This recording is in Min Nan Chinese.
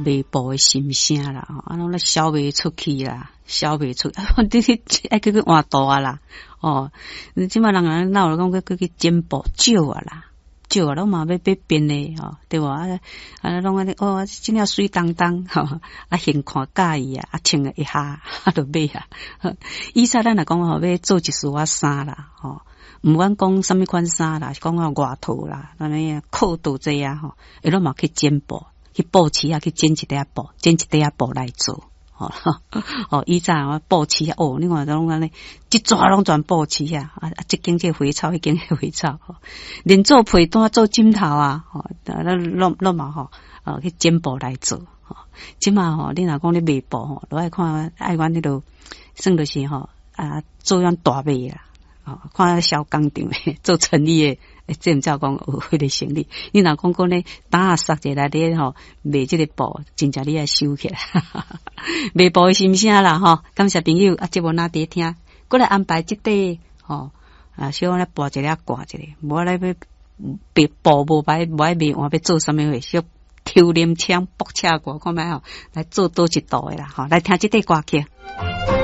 賣布的心聲啦，啊，攏咧銷袂出去啦，銷袂出，你去愛去去換布啊啦，哦，你這擺人人鬧講去去去剪布少啊啦，少啊，攏嘛欲欲變的吼，對無啊？啊，攏按呢哦，這領媠當當吼，啊，現看佮意啊，啊，穿一下啊，就買啊。以前咱若講吼，欲做一束仔衫啦，吼，毋管講啥物款衫啦，是講啊外套啦，按呢褲肚這啊吼，伊攏嘛去剪布，去布市啊，去剪一塊仔布，剪一塊仔布來做。吼，哦，以前我布市啊，哦，你看攏按呢，這逝攏全布市啊，啊，這間這花草，彼間彼花草，連做被單、做枕頭啊，吼，攏攏嘛吼，哦，去剪布來做。吼，這馬吼，你若講咧賣布吼，都愛看愛阮彼落，算就是吼，啊，做樣大賣啦，哦，看小工廠的做成衣的，這毋才講有彼個生意。你若講講咧，擔仔捒一下來咧吼，賣這個布，真正你愛收起來，賣布的心聲啦吼。感謝朋友啊，節目若佇聽，閣來安排這塊吼，啊，小可來播一下歌一下，無來欲賣布無擺無愛賣換欲做啥物貨，小抽黏槍卜車歌，看覓吼，來做佗一道的啦吼，來聽這塊歌曲。